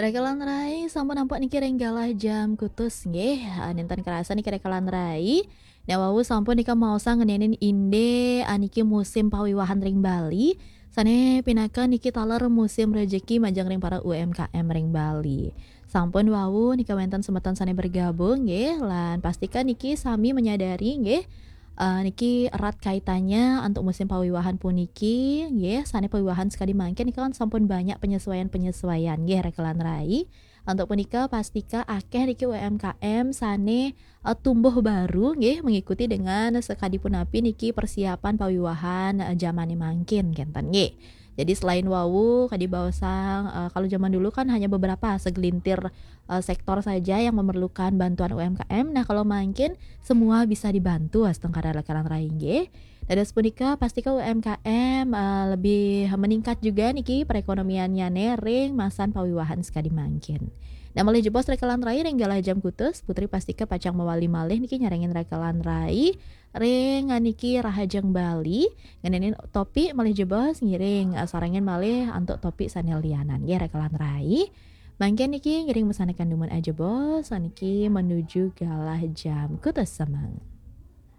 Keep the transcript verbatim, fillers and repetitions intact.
Rekelan rai, sampun nampak niki ring galah jam kutus nggih. Ah, nénten kerasa niki rekelan rai. Nah, wau sampun nika maosang ngenénin indé, ah, niki musim pawiwahan ring Bali. Sané pinaka niki taler musim rejeki majeng ring para U M K M ring Bali. Sampun wau nika wénten semeton sané bergabung nggih, lan pastika niki sami menyadari nggih, eh, niki erat kaitannya untuk musim pawiwahan puniki nggih, sané pawiwahan sekadi mangkin nika kan sampun banyak penyesuaian-penyesuaian nggih rekelan rai. Untuk punika pastika akéh niki U M K M sané, eh, tumbuh baru nggih mengikuti dengan sekadi punapi niki persiapan pawiwahan, eh, jamané mangkin kénten nggih. Jadi selain wau kadi baosang, eh, kalau zaman dulu kan hanya beberapa segelintir, eh, sektor saja yang memerlukan bantuan U M K M. Nah, kalau mangkin semua bisa dibantu astungkara rekelan rai nggih. Dados punika pastika U M K M, eh, lebih meningkat juga niki perekonomiannyané ring masan pawiwahan sekadi mangkin. Nah, malih jebos rekelan rai ring galah jam kutus, Putri pastika pacang mawali malih niki nyarengin rekelan rai ring niki Rahajeng Bali, ngenénin topik malih jebos ngiring, eh, sarengin malih antuk topik sané lianan nggih rekelan rai. Mangkin niki ngiring masanakan dumun ajebos niki menuju galah jam kutus semeng.